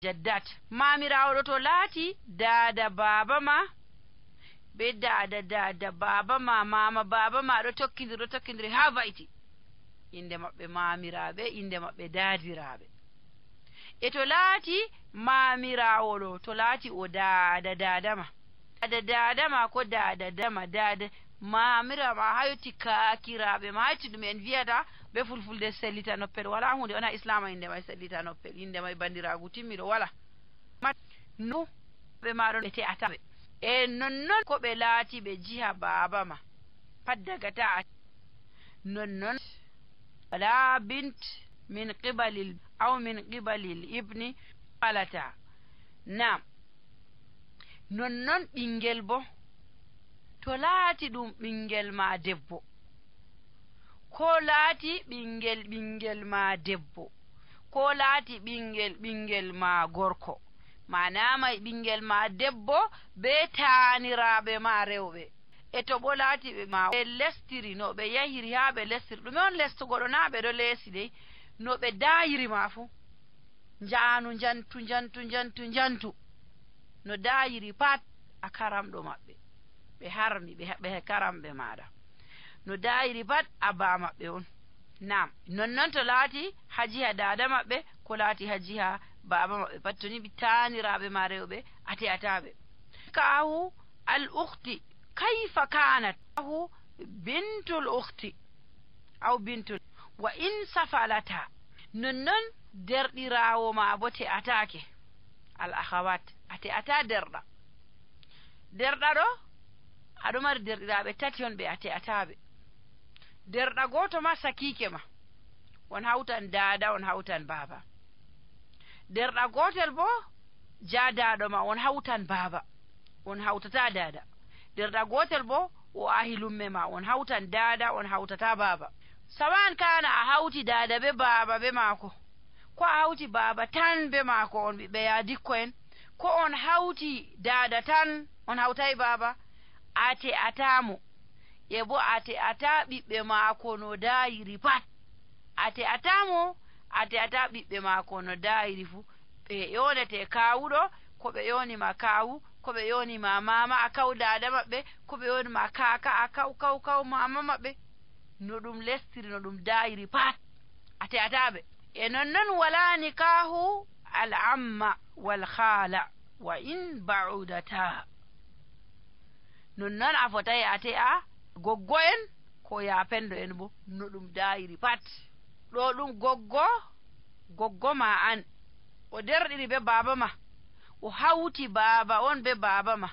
jaddat mamirawo to laati dada baba ma be dada baba ma mama baba ma ɗo tokkidiri ha vayti inde maɓɓe mamiraɓe inde maɓɓe dadiraɓe e to laati mamirawo ɗo to laati o dada ma ko dada mamira ma hayti kakiraɓe ma hayti ɗum en wiyata be fulfulde sellita noppel wala hunde wona islama inde may sellita noppel inde may bandiragu timmiɗo wala no ɓe maɗon ɓe te'ataɓe e nonnon ko ɓe laati ɓe jiha baba ma pat daga ta nonnon wala bint min qibalil aw min qibalil ibni falata nam nonnon ɓingel bo to laati ɗum ɓingel ma debbo ko laati ɓingel ma debbo ko laati ɓingel ma gorko manama ɓingel ma debbo be taaniraɓe ma rewɓe e to bo laati ɓe ma ɓe lestiri no ɓe yahiri ha ɓe lestiri ɗume on lestugo ɗo na ɓe ɗo leesi dey no ɓe dayiri ma fu njaanu njantu no dayiri pat a karamɗo maɓɓe ɓe harmi ɓe karamɓe maɗa no dayiri pat a ba maɓɓe on nam nonnon to laati hajiha dada maɓɓe ko laati hajiha baba maɓɓe pat to ni ɓe taaniraɓe ma rewɓe a te'ataɓe kahu al ukhti kayfa kanat kahu bintul ukhti aw bintul wa in safalata nonnon derɗirawo ma bo te'atake al akhawat a te'ata derɗa ɗo aɗo mari derɗiraɓe tati on ɓe a te'ataɓe derɗa goto ma sakike ma on hawtan dada on hawtan baba derɗa gotel bo jadaɗo ma on hawtan baba on hawtata dada derɗa gotel bo o ahi lumme ma on hawtan dada on hawtata baba sawan kana a hawti dada be baba be maako ko a hawti baba tan be maako on ɓiɓɓe yadikko en ko on hawti dada tan on hawtay baba a te'atamo e bo a te'ata ɓiɓɓe maako no dayiri pat a te'atamo a te'ata ɓiɓɓe maako no dayiri fu ɓe yonete kawuɗo ko ɓe yonima kawu ko ɓe yonima mama a kaw dada maɓɓe ko ɓe yonima kaka a kaw mama maɓɓe no ɗum lestiri no ɗum dayiri pat a te'ataɓe e nonnon wala nikahu al amma wal khala wa in ba'udata nonnon a fotay a te'a goggo en ko yapendo en bo no ɗum dayiri pat ɗo ɗum goggo ma an o derɗiri be baba ma o hawti baba on be baba ma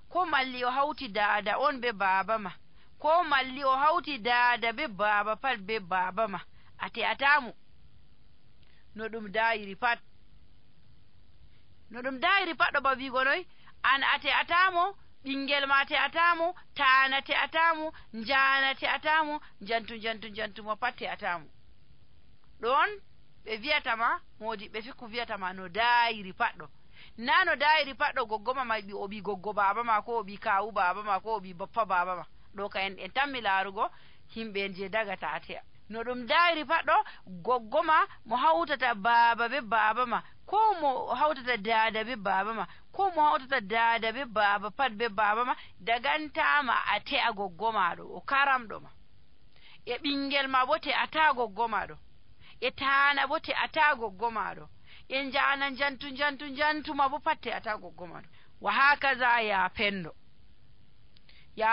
ko malli o hawti dada on be baba ma ko malli o hawti dada be baba pat be baba ma a te'atamu no ɗum dayiri pat ɗo ba wigo noy an a te'atamo ɓingel ma te'atamo taana te'atamo njana te'atamo njantu mo pat te'atamo ɗon ɓe wiyatama modiɓɓe fikku wiyatama no dayiri pat ɗo na no dayiri pat ɗo goggoma ma o ɓi goggo baba ma ko o ɓi kawu baba ma ko o ɓi bappa baba ma ɗo ka en tammi laarugo himɓe je dagata a te'a no ɗum dayiri pat ɗo goggoma mo hawtata baba be baba ma ko mo hawtata dada be baba ma ko mo hawtata dada be baba pat be baba ma dagantama a te'a goggoma ɗo o karamɗo ma e ɓingel ma bo te'ata goggoma ɗo e taana bo te'ata goggoma ɗo e njana njantu ma bo pat te'ata goggoma ɗo wa hakaza ya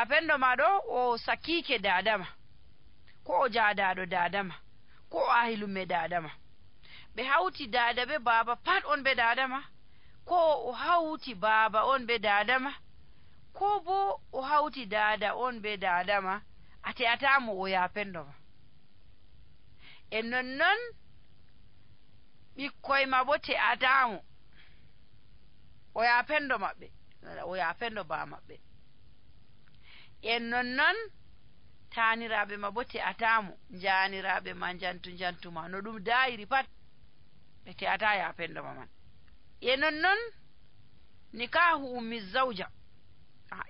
pendo ma ɗo o sakike dadama ko o jadaɗo dadama ko o ahi lumme dadama ɓe hawti dada be baba pat on be dadama ko o hawti baba on be dadama ko bo o hawti dada on be dadama a te'atamo o yapendo ma e nonnon ɓikkoy ma bo te'atamo o yapendo maɓɓe o yapendo ba maɓɓe en nonnon taaniraɓe ma bo te'atamo janiraɓe ma njantu ma no ɗum dayiri pat ɓe te'ata yapendo ma man e nonnon nikahu ummi zawja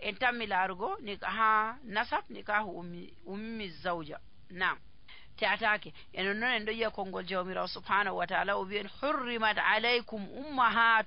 en tammi laarugo ha nasab nikahu ummi zawja nam te'atake e non noon en ɗo yiya konngol jawmirawo subhanahu wa taala o wi'en hurrimat alaykum ummahat